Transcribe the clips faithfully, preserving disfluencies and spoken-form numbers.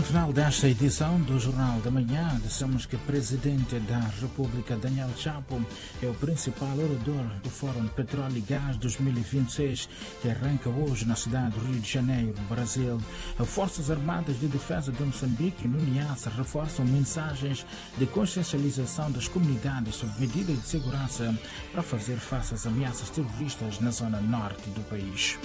final desta edição do Jornal da Manhã, dissemos que o Presidente da República, Daniel Chapo, é o principal orador do Fórum Petróleo e Gás dois mil e vinte e seis, que arranca hoje na cidade do Rio de Janeiro, Brasil. As Forças Armadas de Defesa de Moçambique e Niassa reforçam mensagens de consciencialização das comunidades sobre medidas de segurança para fazer face às ameaças terroristas na zona norte do país.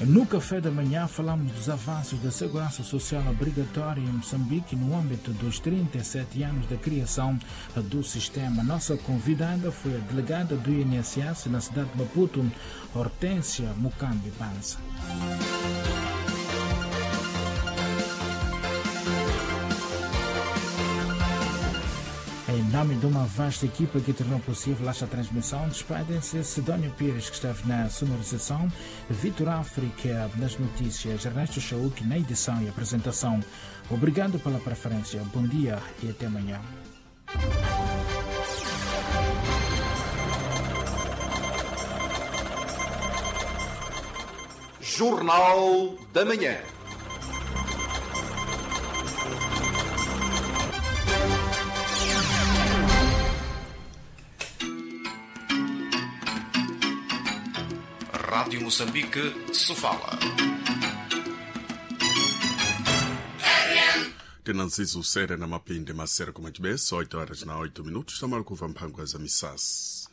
No café da manhã falamos dos avanços da segurança social obrigatória em Moçambique no âmbito dos trinta e sete anos da criação do sistema. Nossa convidada foi a delegada do I N S S na cidade de Maputo, Hortência Mucambi Banza. Em nome de uma vasta equipa que tornou possível esta transmissão, despedem-se Sidónio Pires, que esteve na sonorização, Vitor África nas notícias, Ernesto Chauk na edição e apresentação. Obrigado pela preferência, bom dia e até amanhã. Jornal da Manhã. Rádio Moçambique, Sofala. Tenanzizo sere na mapinde masere kuma chibeso oito horas na oito minutos tamalo kuva mphango za misasi.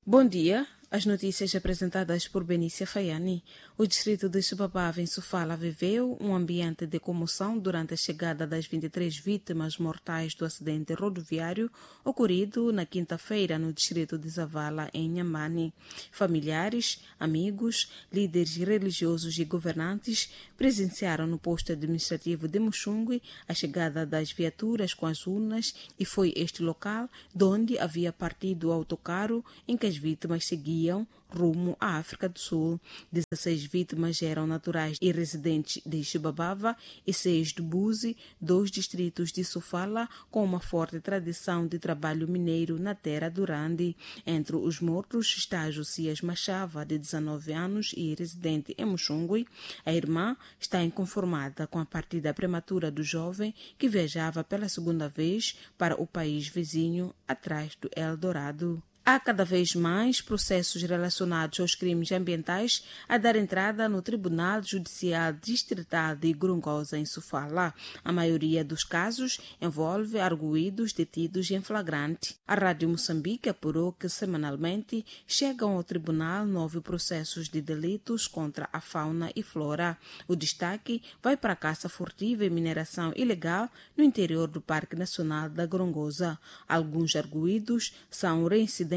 Bom dia. As notícias apresentadas por Benícia Faiani. O distrito de Chibabava, em Sofala, viveu um ambiente de comoção durante a chegada das vinte e três vítimas mortais do acidente rodoviário ocorrido na quinta-feira no distrito de Zavala, em Inhambane. Familiares, amigos, líderes religiosos e governantes presenciaram no posto administrativo de Muxungue a chegada das viaturas com as urnas e foi este local de onde havia partido o autocarro em que as vítimas seguiam rumo à África do Sul. dezesseis vítimas eram naturais e residentes de Chibabava e seis de Buzi, dois distritos de Sofala, com uma forte tradição de trabalho mineiro na terra do Randi. Entre os mortos está Josias Machava, de dezanove anos e residente em Muxungue. A irmã está inconformada com a partida prematura do jovem que viajava pela segunda vez para o país vizinho, atrás do Eldorado. Há cada vez mais processos relacionados aos crimes ambientais a dar entrada no Tribunal Judicial Distrital de Gorongosa, em Sofala. A maioria dos casos envolve arguídos detidos em flagrante. A Rádio Moçambique apurou que semanalmente chegam ao tribunal nove processos de delitos contra a fauna e flora. O destaque vai para a caça furtiva e mineração ilegal no interior do Parque Nacional da Gorongosa. Alguns arguídos são reincidentes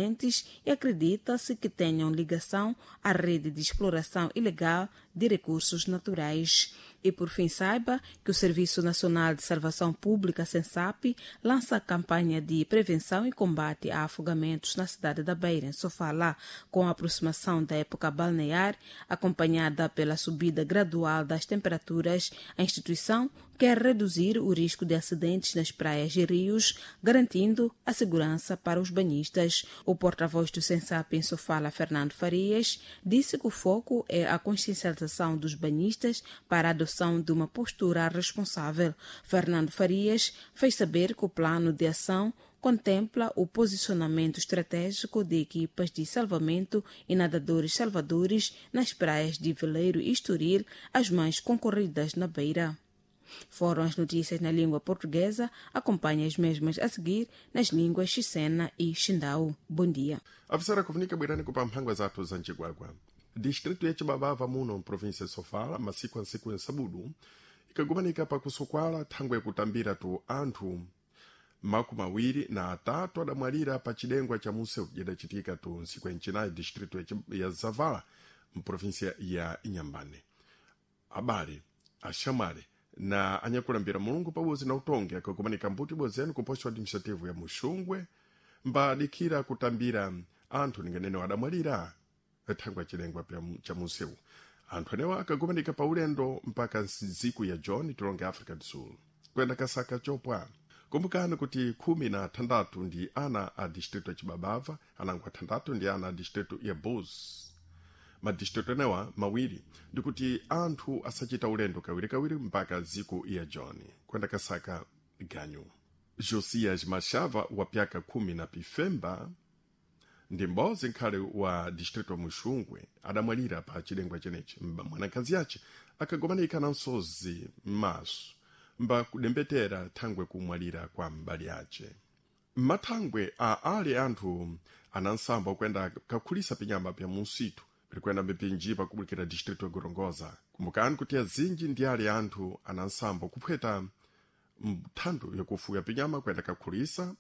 e acredita-se que tenham ligação à rede de exploração ilegal de recursos naturais. E por fim saiba que o Serviço Nacional de Salvação Pública, SENSAP, lança a campanha de prevenção e combate a afogamentos na cidade da Beira, em Sofala, com a aproximação da época balnear, acompanhada pela subida gradual das temperaturas. A instituição quer reduzir o risco de acidentes nas praias e rios, garantindo a segurança para os banhistas. O porta-voz do SENSAP em Sofala, Fernando Farias, disse que o foco é a consciencialização dos banhistas para a adoção de uma postura responsável. Fernando Farias fez saber que o plano de ação contempla o posicionamento estratégico de equipas de salvamento e nadadores salvadores nas praias de Veleiro e Estoril, as mais concorridas na Beira. Foram as notícias na língua portuguesa. Acompanhe as mesmas a seguir nas línguas Xicena e Xindau. Bom dia. Afisara kufunika bwirani kupa mphangwa zathu za mcigwagwa. Distrito ya Chibabava muno mprovinsia ya Sofala masiku ansiku ya sabudu ikagumanika pakusokwala thangwe kutambira tu anthu makumi awiri na atatu adamwalira pa cidengwa cha museu cidacitika tu nsiku ya ncinayi distrito ya, ya Zavala mprovinsia ya Inhambane. Abale axamale na anyakulambira Mulungu pabodzi na utongi akakumanika mbuti ibodzi yanu ku posto administrativo ya Muxungwe mbadikira kutambira anthu ninganene adamwalira thangwe chilengwa cha museu. Anthu anewa akagumanika pa ulendo mpaka nsiku ya John tilonge Africa do Sul kwenda kasaka chopwa. Kumbukani kuti khumi na thandatu ndi ana a distrito ya Chibabava, anango athandatu ndi ana a distrito ya Buz. Madistrito enewa mawiri ndikuti anthu asachita ulendo kawirikawiri mpaka dziko ya John kwenda kasaka ganyu. Josias Machava wa pyaka khumi na pifemba ndi m'bodzi nkhale wa distrito Muxungwe adamwalira pa chilengwa chenechi. Mwanakazi yace akagomanika na nsozi m'maso mba kudembetera thangwe kumwalira kwa mbali yace. Mathangwe a ali anthu anansamba okuyenda kakhulisa pinyama pya munsitu pilikwenda mipinji pakubulikira distrito ya Gorongosa. Kumbukani kuti azinji ndi ali anthu anansamba kuphweta mthando yakufuya pinyama kuyenda kakhulisa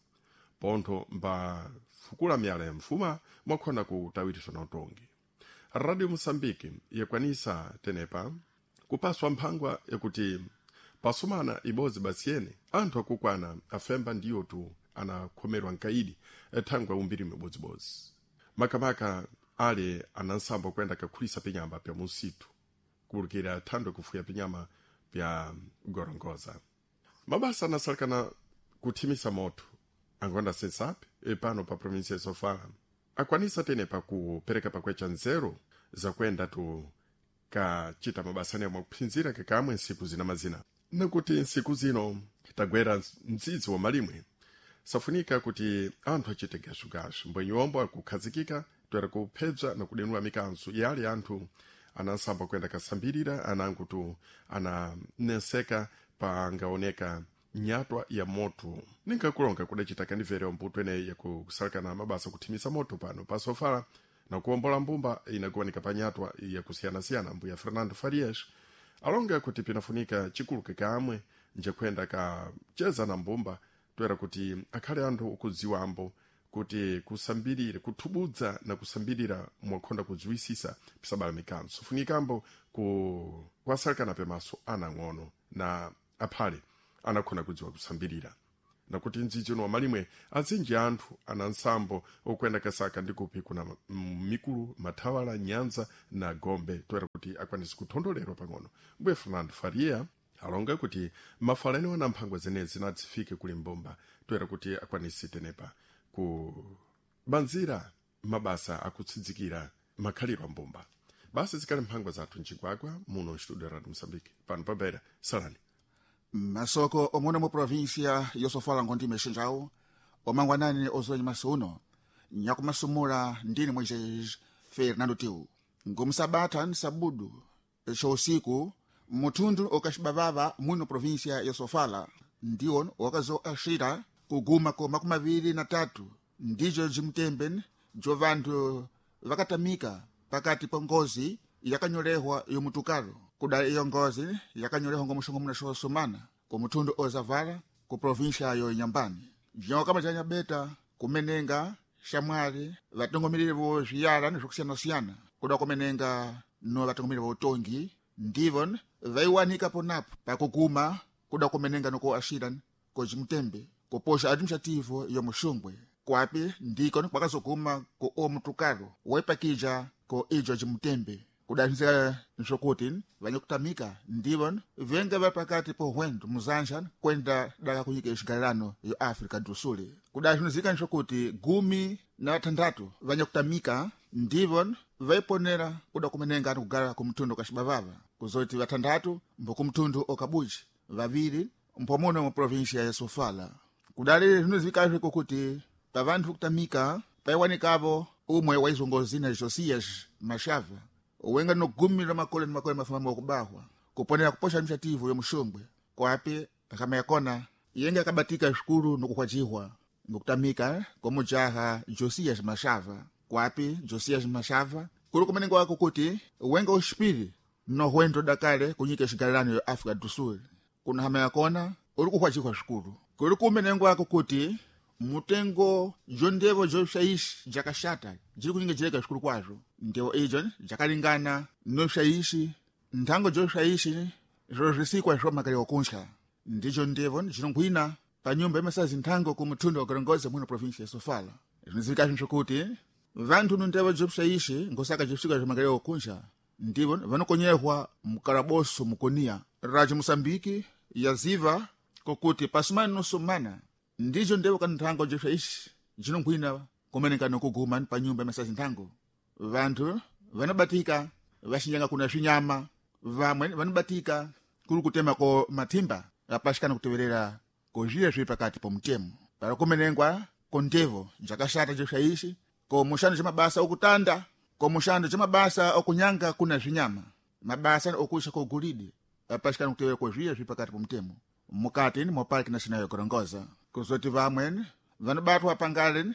pontho mbafukula miyala ya mfuma mwakhona kutawiriswa na utongi. Radio Moçambique yakwanisa tenepa kupaswa mphangwa yakuti pasumana ibodzi basiyene anthu akukwana afemba ndiyo tu anakhomerwa nkaidi thangwe umbiri mibodzibodzi makamaka ali anansamba kuyenda kakhulisa pinyama pya musitu kubulukira thando kufuya pinyama pya Gorongosa. Mabasa anasalikana kuthimisa moto angonda sensapi pano pa província ya Sofala akwanisa tenepa kupereka pakwecha nzeru zakwenda tu kachita mabasa anewo mwakuphinzira kakamwe nsiku zina mazina nakuti nsiku zino tagwera mdzidzi wa malimwe safunika kuti anthu achite gashugashu mbwenyombo akukhazikika toera kuphebza na kudenula mikanzo yali anthu anansamba kuyenda kasambirira anango tu ananenseka pangaoneka nyatwa ya moto. Ninkakulonga kudacita kandimvera mbuto eneyi yakusalakana mabasa kuthimisa moto pano pa Sofala na kuwombola mbumba inakuwanika pa nyatwa yakusiyanasiyana. Mbuya Fernando Farias alonga kuti pinafunika chikulu kakamwe njekwenda kacheza na mbumba toera kuti akhale anthu okudziwambo kuti kusambirira kuthubudza na kusambirira mwakhonda kudziwisisa pisabala mikanzo funikambo ku kwasalikana pemaso anang'ono na aphale anakhona kudziwa kusambirira nakuti mdzidzi uno wamalimwe azinji anthu ana nsambo okwenda kasaka ndikupi kuna mikulu mathawala nyanza na gombe toera kuti akwanise kuthondolerwa pang'ono. Mbuye Fernando Faria alonga kuti mafala enewo na mphangwa zenezi nadzifike kuli mbumba toera kuti akwanise tenepa kubanzira mabasa akutsidzikira makhaliro a mbumba. Basi zikali mphangwa zathu mchigwagwa muno studio Radio Moçambique pano pabera salani masoko omwe mu província yosofala ngondi mexinjawo omangwanani ozonyi masuno nyakumasumula ndini Moisés Fernando Tiu. Ngomsabatha ni sabudu xousiku muthundu okaxibavava muno província yosofala ndiwo wakazo axira kuguma ko makumi maviri na tatu ndijo jimtembe jo vanthu vakatamika pakati pa ngozi yakanyolehwa yomutukalo. Kuda iyo ngozi yakanyolehwa ngomuxongomuna xosumana ku muthundu ozavala ku província yo Inhambane. Bzinyawo kama janyabeta kumenenga xamwali vatongomereri vo zviyala ni zvokusiyanasiyana kuda kumenenga no vatongomereri vo utongi ndivo vaiwanika ponapo pakuguma kuda kumenenga noko axira kojimutembe kupoxa administrativo yo muxungwe kwapi ndiko kwakazoguma ku o mutukalo waipakija ko ijo jimutembe. Kudanizika nsokuti vanyakutamika ndivo venga va pakati po hwendo muzanja kwenda daka kunyika xigalelano yo África do Sul. Kudazinizika nsokuti gumi na vathanthatu vanyakutamika ndivo vaiponera kuda kumenenga kugala kumtundu kaxibavava kuzoti vathanthatu mbokumtundu okabuji vaviri mpomuno mu província ya Sofala. Kudali zvinozikazve kokuti pavanthu kutamika paiwanikavo umwe waizongozina Josias Machava wenga no gumi la makole ni makole mafumamo okubahwa kuponera kuposha administrativo yo muxungwe kwapi kama yakona yenga akabatika xikulu nokukhwajihwa ngokutamika komujaha Josias Machava. Kwapi Josias Machava kuli kumenenga wako kuti wenga uxipiri nohwendo dakale kunyika xigalelano yo África do Sul. Kuna hama yakona uli kukhwajihwa xikulu kuli kumenenga wako kuti mutengo jondevo joxaixi jakaxata jiri kunyinga jireka xikulu kwazvo ndevo ijo jakalingana noxaixi nthango joxaixi zvo zvisikwa zvomakaliwa kunxa ndijo ndevo jinonkhwina pa nyumba imasazi nthango ku muthundo wa Gorongosa muno província ya Sofala. Zvinozivika zvokuti vanthu no ndevo joxaixi ngosaka josvika zvomakaliwa kunxa ndivo vanokonyehwa mukalaboso mukonia. Radio Moçambique yaziva Kokuti pasumana nosumana ndizo ndevo kana nthango jepsa isi jinonkhwina kumeneka nokuguma pa nyumba masazi nthango. Vanthu vanobatika vaxinyanga kuna swinyama, vamwe vanobatika kuli kutema ko mathimba apaxikana kuteverera kozviya zviri pakati po mutemo para kumenengwa kondevo njakaxata jepsa isi ko muxando ca mabasa okutanda, ko muxando ca mabasa okunyanga kuna swinyama, mabasa okuxa ko golide apaxikana kuteverera kozviya zviri pakati po mutemo mukati mo Parque Nacional ya Gorongosa. Kuzoti vamweni vanobatwa pangale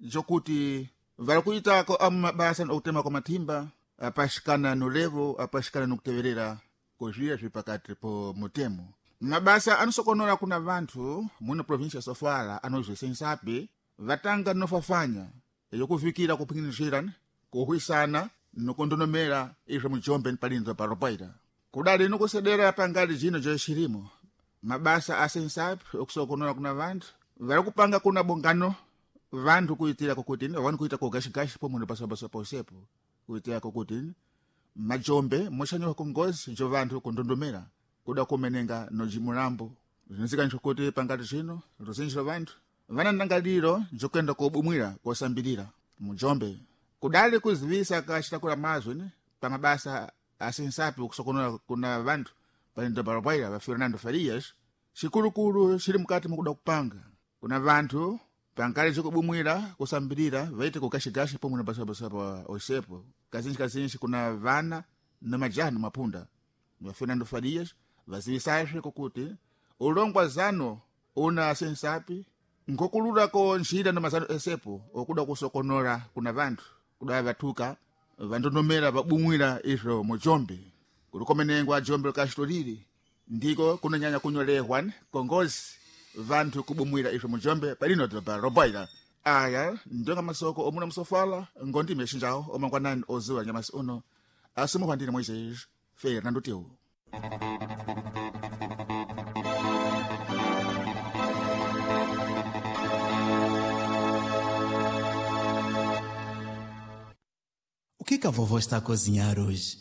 jokuti vari kuitako amu mabasa okutema kwa mathimba apaxikana nolevo apaxikana nokuteverera kozviya zviri pakati po mutemo. Mabasa anosokonora kuna vanthu muno província Sofala anozwesensapi vatanga nofafanya yokuvikira kupinginizira kuhwisana nokundonomera izvo mujombe palinzo paropaita kudali nokusedera pangali jino joxirimo. Mabasa asensapi okusokonora kuna vanthu vari kupanga kuna bongano vanthu kuitira kokuti vani kuita kogashigashi pomwe pasapasaposepo kuitira kokuti majombe moxanyoka kongozi jo vanthu kundondomera kuda kumenenga nojimulambo. Zvinozikaniswa kuti pangati zvino ruzinji lwa vanthu vana ndangaliro jokuyenda kobumwira kosambirira mujombe. Kudali kuzivisa kaxitakula mazwi ni pa mabasa asensapi okusokonora kuna vanthu palindobalobwaira va Fernando Farias, xikulukulu xili mukati mukuda kupanga kuna vanthu pankali zikubumwira kusambirira vaite kugashigashi pomwe napasapasapa osepo kazinji kazinji kuna vana na majaha na mapunda. Va Fernando Farias vazivisazve kokuti ulongwa zano una sensapi ngokulula ko njira na mazano esepo okuda kusokonora kuna vanthu kuda vathuka vandonomera vabumwira izvo mujombe kulikomenengwa jombe likaxitolili ndiko kunonyanya kunyolehwa kongozi vanthu kubumwira izvo mujombe palino doba roboila. Aya ndionga masoko omuna musofala ngondime xinjawo omangwanani oziwa nyamasi uno asimuhwa ndine Moisés Fernando Teu. O que que a vovó está a cozinhar hoje?